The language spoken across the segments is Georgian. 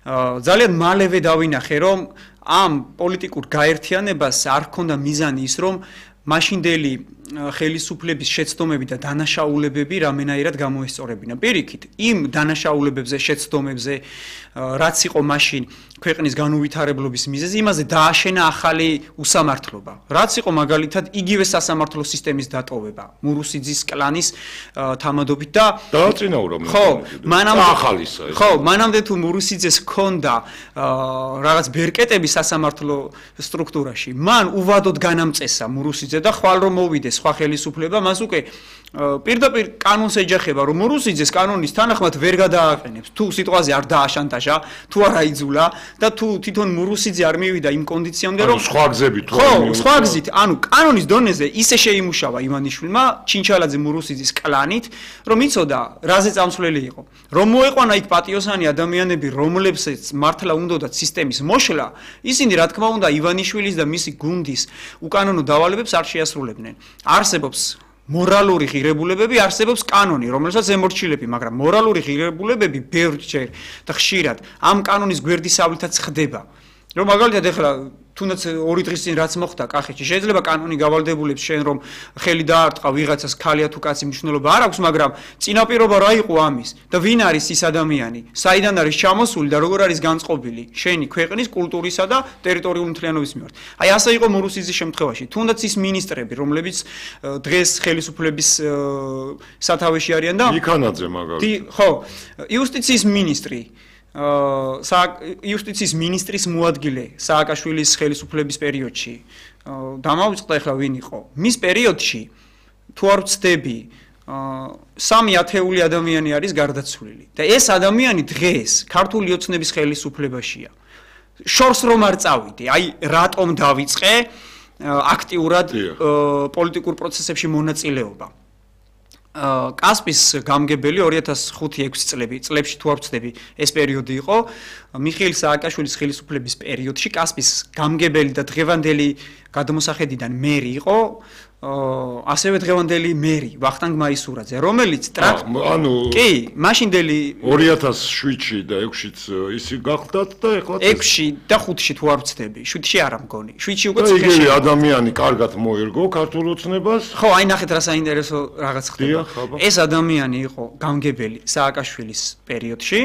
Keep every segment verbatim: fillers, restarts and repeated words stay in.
ძალიან მალევე დავინახე, რომ ამ პოლიტიკურ გაერთიანებას არ ჰქონდა მიზანი ის, რომ მაშინდელი ხელისუფლების შეცდომები და დანაშაულებები რამენაირად გამოესწორებინა. Პირიქით, იმ დანაშაულებებზე, შეცდომებზე, რაც იყო მაშინ ქვეყნის განუვითარებლობის მიზეზი, იმაზე დააშენა ახალი უსამართლობა. რაც იყო მაგალითად იგივე სასამართლო სისტემის დატოვება, მურუსიძის კლანის თამადობით და დააწინაურა ხო, მანამდე ახალისა. ხო, მანამდე თუ მურუსიძეს ჰქონდა რაღაც ბერკეტები სასამართლო სტრუქტურაში, მან უვადოდ განამწესა მურუსიძე და ხვალ რომ მოვიდეს სხვა ხელისუფლება, მას უკვე პირდაპირ კანონს ეჯახება, რომ მურუსიძეს კანონის თანახმად ვერ გადააყენებს. თუ სიტყვაზე არ დააშანტაჟა, თუ არ აიძულა და თუ თვითონ მურუსიძე არ მივიდა იმ კონდიციამდე, რომ სხვა გზებით ხო, სხვა გზით, ანუ კანონის დონეზე ისე შეიმუშავა ივანიშვილმა ჩინჩალაძე მურუსიძის კლანით, რომ იცოდა, რაზე წამსვლელი იყო. რომ მოეყვანა იქ პატიოსანი ადამიანები, რომლებსაც მართლა უნდათ სისტემის მოშლა, ისინი რა თქმა უნდა ივანიშვილის და მისი გუნდის უკანონო დავალებებს არ შეასრულებდნენ. არსებობს მორალური ღირებულებები, არსებობს კანონი, რომელსაც ემორჩილები, მაგრამ მორალური ღირებულებები ბევრჯერ და ხშირად ამ კანონის გვერდისავლითაც ხდება. რომ მაგალითად ეხლა თუნდაც ორი დღის წინ რაც მოხდა კახეთში, შეიძლება კანონი გავალდებულებს შენ რომ ხელი დაარტყა ვიღაცას ქალია თუ კაცი მნიშვნელობა არ აქვს, მაგრამ წინაპირობა რა იყო ამის და ვინ არის ის ადამიანი, საიდან არის ჩამოსული და როგორ არის განწყობილი შენი ქვეყნის კულტურისა და ტერიტორიული მთლიანობის მიმართ. აი ასე იყო მურუსიძის შემთხვევაში. თუნდაც ის მინისტრები, რომლებიც დღეს ხელისუფლების სათავეში არიან და იქანაძე მაგალითად. ხო, იუსტიციის მინისტრი იუსტიციის მინისტრის მოადგილე სააკაშვილის ხელისუფლების პერიოდში დამავიწყდა ახლა ვინ იყო მის პერიოდში თუ არ ვცდები სამი ათეული ადამიანი არის გარდაცვლილი და ეს ადამიანი დღეს ქართული ოცნების ხელისუფლებაშია შორს რომ არ წავიდე აი რატომ დავიწყე აქტიურად პოლიტიკურ პროცესებში მონაწილეობა კასპის გამგებელი ორი ათას ხუთი ექვსი წლები წლებში თუ არ ვცდები ეს პერიოდი იყო მიხეილ სააკაშვილის ხელისუფლების პერიოდში კასპის გამგებელი და დღევანდელი გადმოსახედიდან მერი იყო ასევე დღევანდელი მერი ვახტანგ მაისურაძე რომელიც ანუ კი მაშინდელი ორი ათას შვიდში და ექვსშიც ისი გახდათ და ეხლა ექვსში და ხუთში თუ არ ვცდები შვიდში არა მგონი შვიდში უკვე ციხეში ადამიანი კარგად მოერგო ქართულ ოცნებას ხო აი ნახეთ რა საინტერესო რაღაც ხდება ეს ადამიანი იყო გამგებელი სააკაშვილის პერიოდში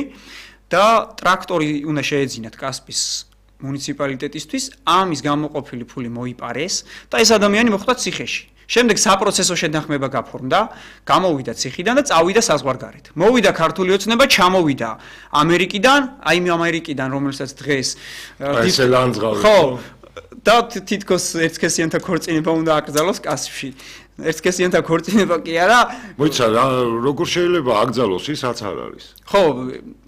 და ტრაქტორი უნდა შეეძინათ კასპის მუნიციპალიტეტისთვის ამის გამოყოფილი ფული მოიპარეს და ეს ადამიანი მოხვდა ციხეში. შემდეგ საპროცესო შეთანხმება გაფორმდა, გამოვიდა ციხიდან და წავიდა საზღვარგარეთ. მოვიდა ქართული ოცნება, ჩამოვიდა ამერიკიდან, აი იმ ამერიკიდან, რომელსაც დღეს ესე ლანძღავი. ხო, და თითქოს ერთსქესიანთა ქორწინება უნდა აკრძალოს კასპში. ერთსქესიანთა ქორწინება კი არა. მოიცა რა როგორ შეიძლება აკრძალოს ის რაც არ არის. ხო,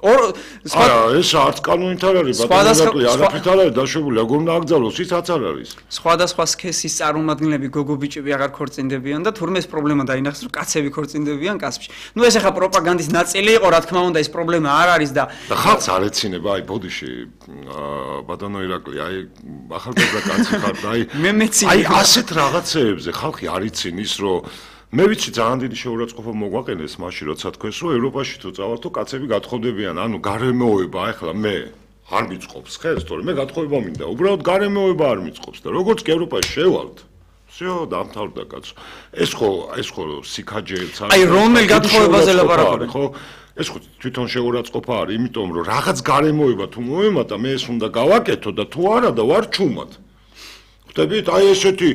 არა, ეს არც კანონით არ არის, ბატონო, არაფრით არ არის დაშვებული, როგორ უნდა აკრძალოს ის რაც არ არის. სხვადასხვა სქესის წარმომადგენლები გოგო-ბიჭები აღარ ქორწინდებიან და თურმე ეს პრობლემა დაინახეს, რომ კაცები ქორწინდებიან კასპში. ნუ ეს ახლა პროპაგანდის ნაწილი იყო, რა თქმა უნდა, ეს პრობლემა არ არის და და ხალხს არ ეცინება, აი ბოდიში, ბატონო ირაკლი, აი ახალგაზრდა კაცი ხარ და აი მე მეცი აი ასეთ რაღაცეებზე ხალხი არ იცინი ის რომ მე ვიცი ძალიან დიდი შეურაცხყოფა მოგვაყენეს მაშინ როცა თქვენს რომ ევროპაში თუ წავალ თუ კაცები გათხოვდებიან ანუ გარემოება ახლა მე არ მიწყობს ხელს თორე მე გათხოვება მინდა უბრალოდ გარემოება არ მიწყობს და როგორც კი ევროპაში შევალთ всё დამთავრდა კაცო ეს ხო ეს ხო სიქაჯეც არის აი რომელ გათხოვებაზე ლაპარაკობენ ხო ეს ხო თვითონ შეურაცხყოფა არის იმიტომ რომ რაღაც გარემოება თუ მოემატა მე ეს უნდა გავაკეთო და თუ არა და ვარ ჩუმად ხდებით აი ესეთი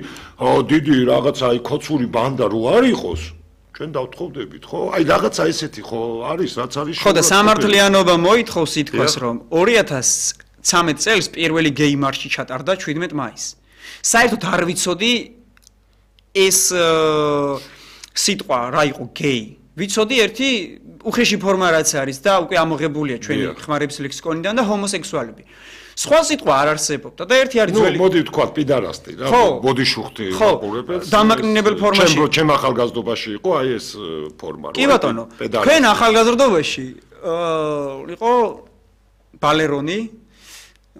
დიდი რაღაცა აი ქოცური ბანდა რო არ იყოს ჩვენ დავთხოვდებით ხო აი რაღაცა ესეთი ხო არის რაც არის ხო და სამართლიანობა მოითხოვს ითქვას რომ ორი ათას ცხრამეტ წელს პირველი გეი მარში ჩატარდა შვიდმეტ მაისს საერთოდ არ ვიცოდი ეს სიტყვა რა იყო გეი ვიცოდი ერთი უხეში ფორმა რაც არის და უკვე ამოღებულია ჩვენი ხმარების ლექსიკონიდან და ჰომოსექსუალები სხვა სიტყვა არ არსებობდა და ერთი არის ძველი. ნუ მოდი ვთქვათ პიდარასტი რა, ბოდიშუხტი მაყურებელს. დამაკნინებელ ფორმაში. ჩემ ჩემ ახალგაზრდობაში იყო აი ეს ფორმა. კი ბატონო. თქვენ ახალგაზრდობაში აა იყო ბალერონი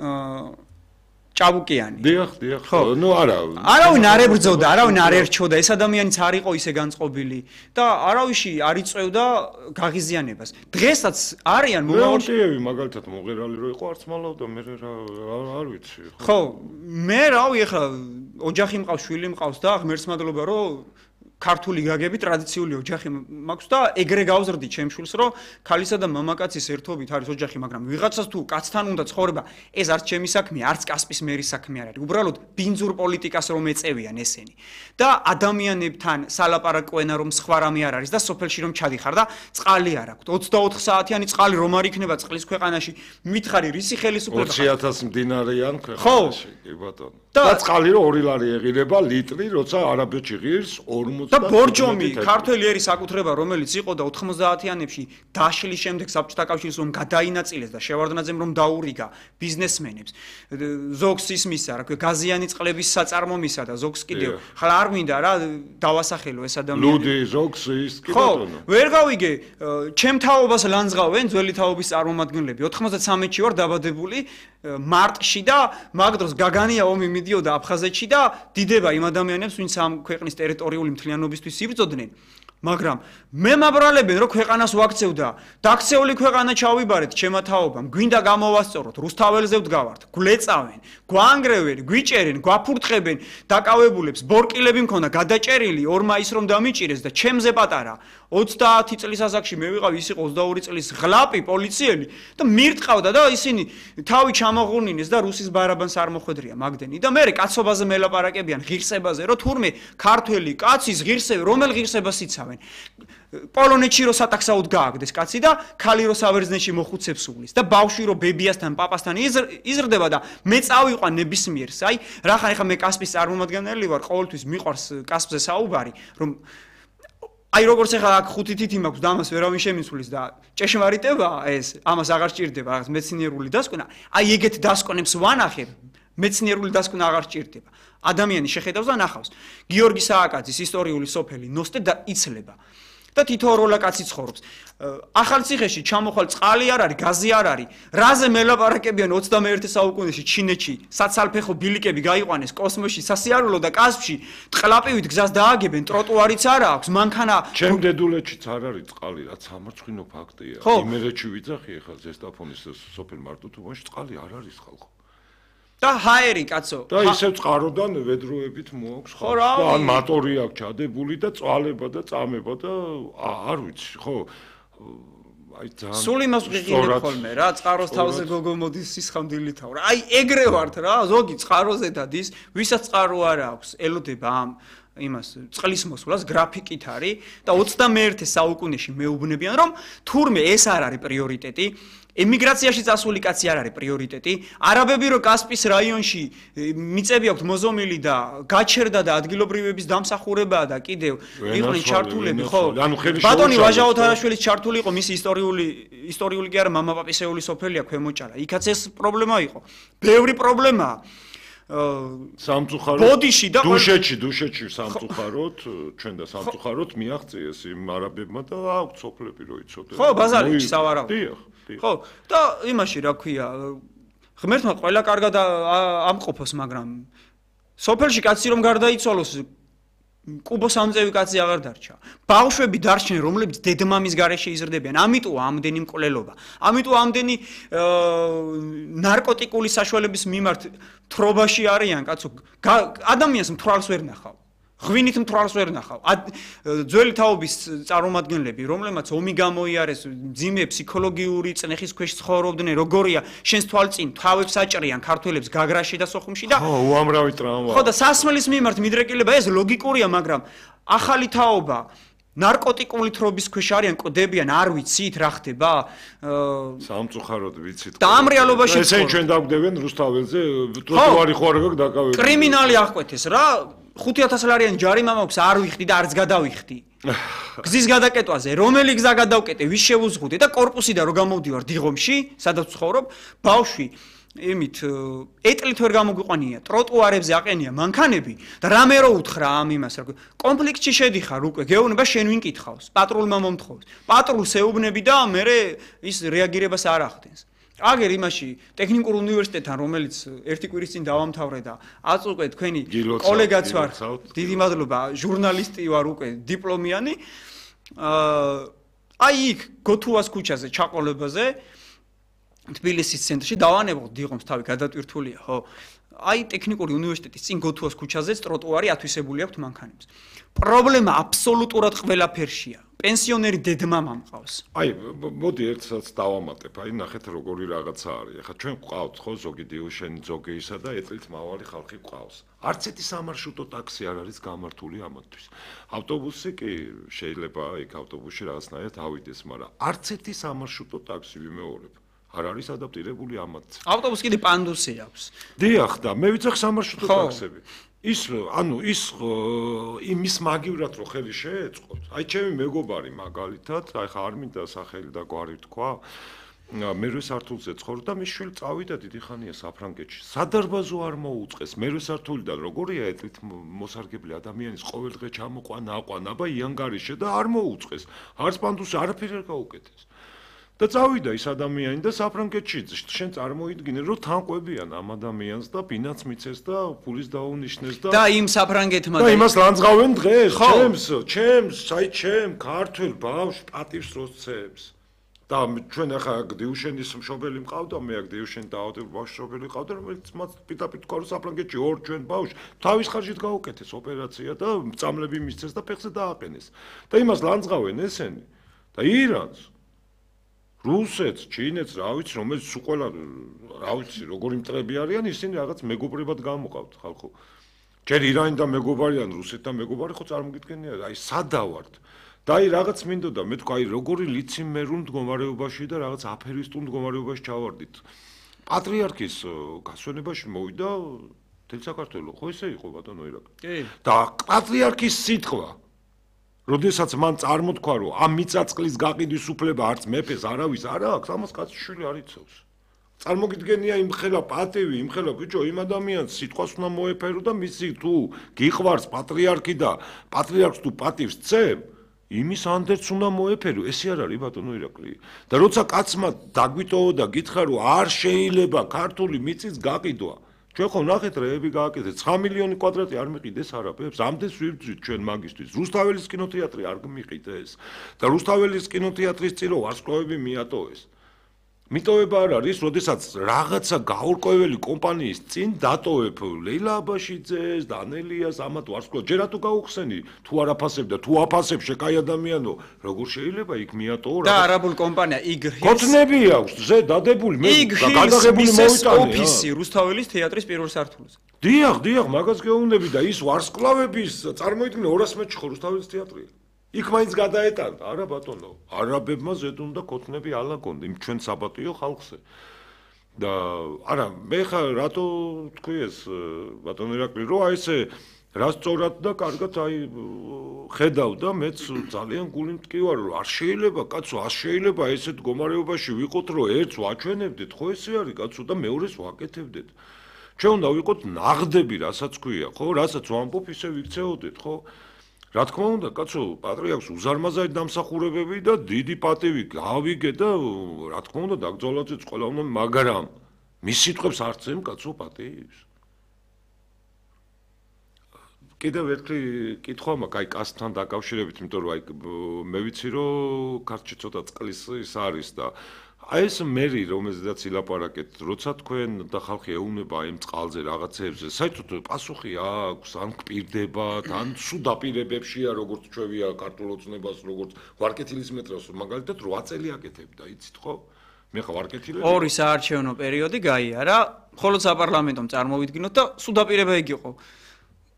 აა ჭაბუკიანი. დიახ, დიახ. ნუ არა. არავინ არ ებრძოდა, არავინ არ ერჩოდა, ეს ადამიანიც არ იყო ისე განწყობილი და არავისი არ იწევდა გაღიზიანებას. დღესაც არიან მომავალში მაგალითად მოღერალი რო იყო არც მალავდა, მე არ ვიცი. ხო, მე რავი ახლა ოჯახი მყავს, შვილი მყავს და ღმერთს მადლობა რომ ქართული გაგები ტრადიციული ოჯახი მაქვს და ეგრე გავზრდი ჩემ შვილს რომ ქალისა და მამაკაცის ერთობით არის ოჯახი, მაგრამ ვიღაცას თუ კაცთან უნდა ცხოვრება, ეს არც ჩემი საქმეა, არც კასპის მერის საქმე არ არის. უბრალოდ ბინძურ პოლიტიკას რომ ეწევიან ესენი. და ადამიანებთან სალაპარაკოენა რომ სხვა რამე არ არის და სოფელში რომ ჩადიხარ და წყალი არ აქვს. ოცდაოთხ საათიანი წყალი რომ არ იქნება წყლის ქვეყანაში, მითხარი რისი ხელისუფლება? ოცი ათასი მდინარეიან ქვეყანაში, კი ბატონო. და წყალი რომ ორი ლარი ეღირება ლიტრი, როცა არაბეთში ღირს ორმოცდა და ბორჯომი ქართველი ერის საკუთრება რომელიც იყო და ოთხმოცდაათიანებში დაშლის შემდეგ საბჭოთა კავშირის რომ გადაინაწილეს და შევარდნაძემ რომ დაურიგა ბიზნესმენებს ზოგს ისმისა რა ქვია გაზიანი წყლების საწარმომისა და ზოგს კიდევ ხლა არ მინდა რა დავასახელო ეს ადამიანები ლუდი ზოგს ის კი ბატონო ხო ვერ გავიგე ჩემ თაობას ლანძღავენ ძველი თაობის წარმომადგენლები ოთხმოცდათრამეტში ვარ დაბადებული მარტში და მაგ დროს გაგანია ომი მიდიოდა აფხაზეთში და დიდება იმ ადამიანებს ვინც ამ ქვეყნის ტერიტორიული მთლიანობისთვის იბრძოდნენ მაგრამ მე მაბრალებენ რომ ქვეყანას ვაქცევდა დაქცეული ქვეყანა ჩავიბარეთ ჩემმა თაობამ გვინდა გამოვასწოროთ რუსთაველზე ვდგავართ გვლეწავენ გვანგრევენ გვიჭერენ გვაფურთხებენ დაკავებულებს ბორკილები მქონდა გადაჭერილი ორ მაისს რომ დამიჭირეს და ჩემზე პატარა ოცდაათი წლის ასაკში მე ვიყავ ის იყო ოცდაორი წლის ღლაპი პოლიციელი და მირტყავდა და ისინი თავი ჩამოღუნინეს და რუსის ბარაბანს არ მოხვედრია მაგდენი და მე კაცობაზე მელაპარაკებიან ღირსებაზე რომ თურმე ქართველი კაცის ღირსები რომელ ღირსებას იცავენ პოლონეთში რო სატაქსაოდ გააგდეს კაცი და ქალი რო საბერძნეთში მოხუცებს უვლის და ბავშვი რო ბებიასთან პაპასთან იზრდება და მე წავიყვან ნებისმიერს აი რახან ეხა მე კასპის წარმომადგენელი ვარ ყოველთვის მიყვარს კასპზე საუბარი რომ აი როგორც ახლა აქ ხუთი თითი მაქვს და ამას ვერავინ შემიცვლის და ჭეშმარიტება ეს ამას აღარ სჭირდება რაღაც მეცნიერული დასკვნა აი ეგეთ დასკვნებს ვანახებ მეცნიერული დასკვნა აღარ სჭირდება ადამიანი შეხედავს და ნახავს გიორგი სააკაძის ისტორიული სოფელი ნოსტე და იცლება და თითოეულა კაცი ცხოვრობს ახალციხეში ჩამოხვალ წყალი არ არის გაზი არ არის რაზე მელაპარაკებიან ოცდამეერთე საუკუნეში ჩინეთში საცალფეხო ბილიკები გაიყვანეს კოსმოსში სასიარულო და კასპში ტყლაპივით გზას დააგებენ ტროტუარიც არ აქვს მანქანა ჩემ დედულეთშიც არ არის წყალი რაც სამარცხინო ფაქტია იმერეთში ვიძახი ახლა ზესტაფონის სოფელ მარტუთუბანში წყალი არ არის ხალხო და ჰაერი კაცო და ისევ წყაროდან ვედროებით მოაქვს ხო და ან მატორი აქვს ჩადებული და წვალება და წამება და არ ვიცი ხო აი ძალიან სულ იმას ვიღინებ ხოლმე რა წყაროს თავზე გოგო მოდის სისხამდილი თავ რა აი ეგრე ვართ რა ზოგი წყაროზე დადის ვისაც წყარო არ აქვს ელოდება ამ იმას წყლის მოსვლას გრაფიკით არის და ოცდამეერთე საუკუნეში მეუბნებიან რომ თურმე ეს არ არის პრიორიტეტი ემიგრაციაში წასული კაცი არ არის პრიორიტეტი არაბები რო კასპის რაიონში მიწები აქვთ მოზომილი და გაჩერდა და ადგილობრივების დამსახურებაა და კიდევ იყვნენ ჩართულები ხო ბატონი ვაჟა ოთარაშვილის ჩართული იყო მისი ისტორიული ისტორიული კი არა მამა პაპისეული სოფელია ქვემოჭალა იქაც ეს პრობლემა იყო ბევრი პრობლემაა სამწუხაროდ ბოდიში და დუშეთში დუშეთში სამწუხაროდ ჩვენ და სამწუხაროდ მიაღწიეს იმ არაბებმა და აქვთ სოფლები რო იცოდნენ ხო ბაზარებში სავარავ დიახ ხო და იმაში რა ქვია ღმერთმა ყველა კარგად ამყოფოს მაგრამ სოფელში კაცი რომ გარდაიცვალოს კუბოს ამწევი კაცი აღარ დარჩა ბავშვები დარჩნენ რომლებიც დედმამის გარეშე იზრდებიან ამიტომ ამდენი მკვლელობა ამიტომ ამდენი ნარკოტიკული საშუალების მიმართ თრობაში არიან კაცო ადამიანს მთვრალს ვერ ნახავ ღვინით მთვრალს ვერ ნახავ ძველი თაობის წარმომადგენლები რომლებმაც ომი გამოიარეს ძიმე ფსიქოლოგიური წნეხის ქვეშ ცხოვრობდნენ როგორია შენს თვალწინ თავებს აჭრიან ქართველებს გაგრაში და სოხუმში და ხო უამრავი ტრავმა ხო და სასმელის მიმართ მიდრეკილება ეს ლოგიკურია მაგრამ ახალი თაობა ნარკოტიკული თრობის ქვეშ არიან კოდებიან არ ვიცით რა ხდება სამწუხაროდ ვიცით და ამ რეალობაში ესენ ჩვენ დაგვდევენ რუსთაველზე ტროტუარი ხო არ გაქვს დაკავებული კრიმინალი აღკვეთეს რა ხუთი ათასი ლარიანი ჯარიმა მაქვს არ ვიხდი და არც გადავიხდი გზის გადაკეტვაზე რომელი გზა გადავკეტე ვის შევუზღუდე და კორპუსიდან რო გამოვდივარ დიღომში სადაც ვცხოვრობ ბავშვი იმით ეტლით ვერ გამოგვიყვანია ტროტუარებზე აყენია მანქანები და რამე რო უთხრა ამ იმას რა კონფლიქტში შედიხარ უკვე გეუბნება შენ ვინ კითხავს პატრულმა მომთხოვს პატრულს ეუბნები და მე ის რეაგირებას არ ახდენს აგერ იმაში ტექნიკურ უნივერსიტეტთან რომელიც ერთი კვირის წინ დავამთავრე და აწ უკვე თქვენი კოლეგაც ვარ დიდი მადლობა ჟურნალისტი ვარ უკვე დიპლომიანი აი იქ გოთუას ქუჩაზე ჩაყოლებაზე თბილისის ცენტრში დავანებო დიღომს თავი გადატვირთულია ხო აი ტექნიკური უნივერსიტეტის წინ გოთუას ქუჩაზე ტროტუარი ათვისებული აქვს მანქანებს პრობლემა აბსოლუტურად ყველაფერშია პენსიონერი დედმამა მყავს. აი, მოდი ერთსაც დავამატებ. აი, ნახეთ როგორი რაღაცა არის. ახლა ჩვენ გვყავთ ხო ზოგი დიუშენი, ზოგეისა და ეწლით მავალი ხალხი გვყავს. არც ერთი სამარშრუტო ტაქსი არ არის გამართული ამათთვის. ავტობუსი კი შეიძლება იქ ავტობუსში რაღაცნაირად ავიდეს, მაგრამ არც ერთი სამარშრუტო ტაქსი ვიმეორებ. არ არის ადაპტირებული ამათ. ავტობუსი კიდე პანდუსი აქვს. დიახ და მე ვიცახ სამარშრუტო ტაქსები. ის ანუ ის იმის მაგივრად რო ხელი შეეწყოთ. აი ჩემი მეგობარი მაგალითად, აი ხა არ მინდა სახელი და გვარი თქვა, მერვე სართულზე ცხოვრობდა, მის შვილი წავიდა დიდი ხანია საფრანგეთში. სადარბაზო არ მოუწყეს. მერვე სართულიდან როგორია ეთლით მოსარგებლე ადამიანის ყოველდღე ჩამოყვანა, აყვანა, აბა იანგარიშე და არ მოუწყეს. არც პანდუსი არაფერი არ გაუკეთეს. და წავიდა ის ადამიანი და საფრანგეთში შენ წარმოიდგინე რომ თანყვებიან ამ ადამიანს და ბინაც მიცეს და ფულის დაუნიშნეს და და იმ საფრანგეთმა და იმას ლანძღავენ დღეს ჩემს ჩემს აი ჩემ ქართულ ბავშვ პატივს როცებს და ჩვენ ახლა დიუშენის მშობელი მყავდა მე აქ დიუშენი დაავადებული ბავშვი მშობელი მყავდა რომელიც მას პიტაპიტ ყარო საფრანგეთში ორ ჩვენ ბავშვ თავის ხარჯით გაუკეთეს ოპერაცია და წამლები მისცეს და ფეხზე დააყენეს და იმას ლანძღავენ ესენი და ირანს რუსეთს, ჩინეთს, რა ვიცი, რომელიც სულ ყველა რა ვიცი, როგორი მტრები არიან, ისინი რაღაც მეგობრებად გამოყავთ ხალხო. ჯერ ირანი და მეგობარიან, რუსეთთან მეგობარი ხო წარმოგიდგენია, აი სადავართ. და აი რაღაც მინდოდა, მე თქვა, აი როგორი ლიციმერულ მდგომარეობაში და რაღაც აფერისტულ მდგომარეობაში ჩავარდით. პატრიარქის გასვენებაში მოვიდა თელ საქართველო, ხო ესე იყო ბატონო ირაკლი? კი. და პატრიარქის სიტყვა როდესაც მან წარმოთქვა რომ ამ მიწაწკლის გაყიდვის უფლება არც მეფეს არავის არ აქვს, ამას კაცშვილი არ იცავს. წარმოგიდგენია იმ ხელა პატივი, იმ ხელა ბიჭო, იმ ადამიანს სიტყვას უნდა მოეფერო და მისი თუ გიყვარს პატრიარქი და პატრიარქს თუ პატივს წემ, იმის ანდერც უნდა მოეფერო, ესე არ არის ბატონო ირაკლი. და როცა კაცმა დაგვიტოვა და გითხრა რომ არ შეიძლება ქართული მიწის გაყიდვა ჩვენ ხო ნახეთ რეები გააკეთეთ ცხრა მილიონი კვადრატი არ მიყიდეს არაბებს ამდენს ვიბძვით ჩვენ მაგისტვის რუსთაველის კინოთეატრი არ მიყიდეს და რუსთაველის კინოთეატრის წირო ვარსკვლავები მიატოვეს მიტოვება არ არის როდესაც რაღაცა გაურკვეველი კომპანიის წინ დატოვებ ლეილა აბაშიძეს და ანელიას ამათ ვარსკვლავ ჯერ რატო გაუხსენი თუ არ აფასებ და თუ აფასებ შეკაი ადამიანო როგორ შეიძლება იქ მიატოვო და არაბულ კომპანია იგრ კოთნები აქვს ზე დადებული მე გადაღებული მოვიტანე ოფისი რუსთაველის თეატრის პირველ სართულზე დიახ დიახ მაგას გეუბნები და ის ვარსკვლავების წარმოიდგინე ორას მეტრში ხო რუსთაველის თეატრია იქ მაინც გადაეტანდა არა ბატონო არაბებმა ზედ უნდა კოთნები ალაგონ იმ ჩვენ საბატიო ხალხზე და არა მე ხა რატო თქვი ეს ბატონო ირაკლი რომ აი ესე რა სწორად და კარგად აი ხედავდა მეც ძალიან გული მტკივარ რომ არ შეიძლება კაცო არ შეიძლება ესე მდგომარეობაში ვიყოთ რომ ერთს ვაჩვენებდეთ ხო ესე არის კაცო და მეორეს ვაკეთებდეთ ჩვენ უნდა ვიყოთ ნაღდები რასაც ქვია ხო რასაც ვამბობ ისე ვიქცეოდეთ ხო რა თქმა უნდა, კაცო, პატრიარქს უზარმაზარი დამსახურებები და დიდი პატივი გავიგე და რა თქმა უნდა, დაგძოლაძეც ყველა უნდა, მაგრამ მის სიტყვებს არც ემ კაცო პატივს. კიდევ ერთი კითხვა მაქვს, აი კასთან დაკავშირებით, იმიტომ რომ აი მე ვიცი რომ ქართლში ცოტა წყლის ის არის და აი ეს მერი რომელზედაც ილაპარაკეთ, როცა თქვენ და ხალხი ეუბნება იმ წყალზე რაღაცებზე, საერთოდ პასუხი აქვს, ან გპირდებათ, ან სულ დაპირებებშია, როგორც ჩვევია ქართულ ოცნებას, როგორც ვარკეთილის მეტროს, მაგალითად რვა წელი აკეთებდა, იცით ხო? მე ხა ვარკეთილები. ორი საარჩევნო პერიოდი გაიარა, მხოლოდ საპარლამენტომ წარმოვიდგინოთ და სულ დაპირება იგი იყო.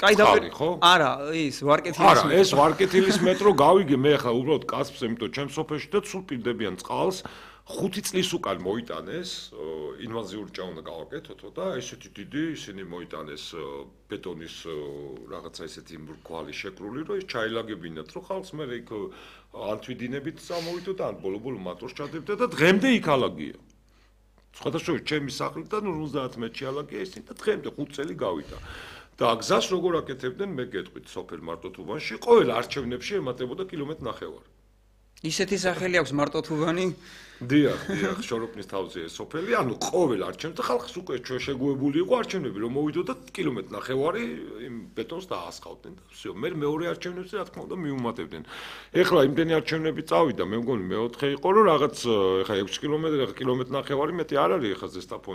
კაი დაპირება ხო? არა, ის ვარკეთილის არა, ეს ვარკეთილის მეტრო გავიგე მე ხა უბრალოდ კაცებს, იმიტომ ჩემ სოფელში და სულ პირდებიან წყალს. ხუთი წლის უკან მოიტანეს ინვაზიური ჭა უნდა გავაკეთოთო და ესეთი დიდი ისინი მოიტანეს ბეტონის რაღაცა ესეთი მრგვალი შეკრული რომ ეს ჩაილაგებინათ რომ ხალხს მე იქ ანთვიდინებით წამოვიდო და ან ბოლო-ბოლო მატროს ჩადებდა და დღემდე იქ ალაგია სხვადასხვა ჩემი სახლიდან ორმოცდაათ მეტრში ალაგია ისინი და დღემდე ხუთ წელი გავიდა და გზას როგორ აკეთებდნენ მე გეტყვით სოფელ მარტოთუბანში ყოველ არჩევნებში ემატებოდა კილომეტრ ნახევარი ისეთი სახელი აქვს მარტოთუბანი. დიახ, დიახ, შოროპნის თავზე ეს სოფელი, ანუ ყოველ არჩევნებზე ხალხს უკვე შეგუებული იყო არჩევნები, რომ მოვიდოდა კილომეტრი ნახევარი იმ ბეტონს დაასხავდნენ და всё, მე მეორე არჩევნებზე რა თქმა უნდა მიუმატებდნენ. ეხლა იმდენი არჩევნები წავიდა, მე მგონი მეოთხე იყო, რომ რაღაც ეხლა ექვსი კილომეტრი, ეხლა კილომეტრი ნახევარი მეტი არ არის ეხლა ზესტაფონი